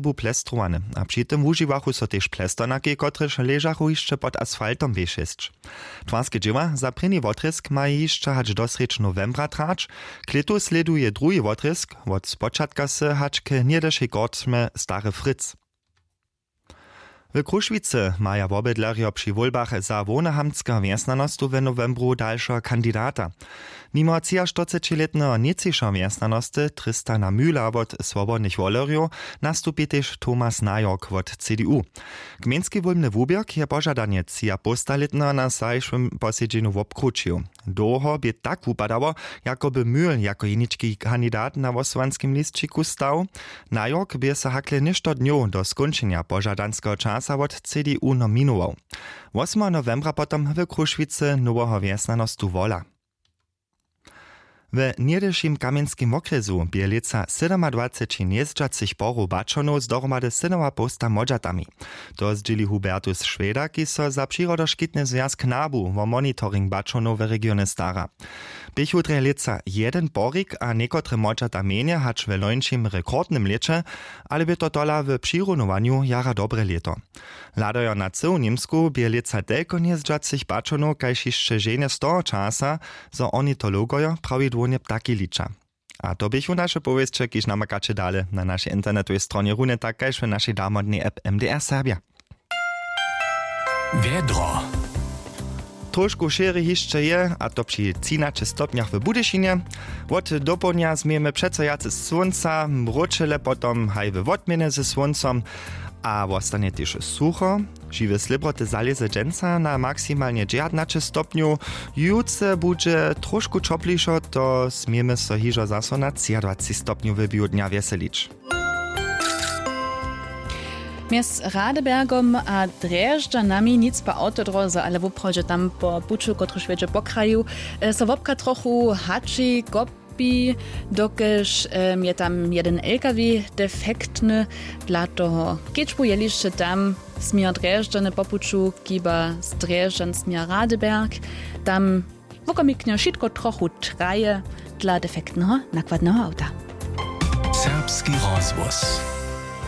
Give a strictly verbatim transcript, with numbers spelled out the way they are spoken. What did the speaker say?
bu plestrowane, a při tym wužiwachu so tež plestornaki, kotrež ležachu hišće pod asfaltom. W šěsć twarske dźěła za prěni wotrězk maja hišće hač do srjedź nowembra trać. K lětu slěduje druhi wotrězk wot spočatka sy hač k něhdyšej korčmje Stary Fritz. W Krušwicy maja wobydlerjo při wólbach za hłownohamtskeho wjesnjanostu w nowembru dalšeho kandidata. Nimo třiaštyrcećilětneho nětřišeho wjesnjanosty Tristana Mühla wot Swobodnych wolerjow nastupi tež Thomas Najork wot C D U. Gmejnski wólbny wuběrk je požadanje třiapołstalětneho na zašłym posedźenju wobkrućił. Dołho bě tak wupadało, jako by Mühl jako jenički kandidat na hłosowanskim lisćiku stał. Najork bě so hakle něšto dnjow do skónčenja požadanskeho časa wot C D U nominował. Wosmeho nowembra potom w Krušwicy noweho wjesnjanostu wola. W něhdyšim kamjenskim wokrjesu bě lětsa sydomadwaceći njezdźacych porow baćonow z dohromady sydomapołsta młodźatami. To zdźěli Hubertus Šweda, kiž so za Přirodoškitny zwjazk NABU wo monitoring baćonow w regionje stara. Běchu drje lětsa jedyn porik a někotre młodźata mjenje hač w lońšim rekordnym lěće, ale bě to tola w přirunowanju jara dobre lěto. Hladajo na cyłu Němsku bě lětsa telko njezdźacych baćonow kaž hišće ženje z toho časa, zo ornitologojo prawidłownje ptaki liča. A to běchu naše powěsće, kiž namakaće dale na našej internetowej stronje runje tak kaž w našej damodnej app M D R Serbja. Wjedro. Trošku šěri hišće je, a to při třinaće stopnjach w Budyšinje. Wot dopołdnja změjemy přeco wjace słónca, mróčele potom haj we wotměnje ze słóncom, a wostanje tež sucho. Žiwe slěbroty zalěze dźensa na maksimalnje dźewjatnaće stopnjow. Jutře budźe trošku ćoplišo, to smějemy so hižo zaso na třiadwaceći stopnjow w běhu dnja wjeselić. Mjez Radebergom a Drježdźanami nic pa awtodróze, ale woprawdźe tam po puću, kotryž wjedźe po kraju, e, so wobka trochu hači, kopi, dokelž, em, je tam jedyn L K W defektny. Dla toho kedźbu je hišće tam směr Drježdźany po puću, kiba z Drježdźan směr Radeberg. Tam wokomiknje wšitko trochu traje dla defektneho nakładneho awta. Serbski rozhłos.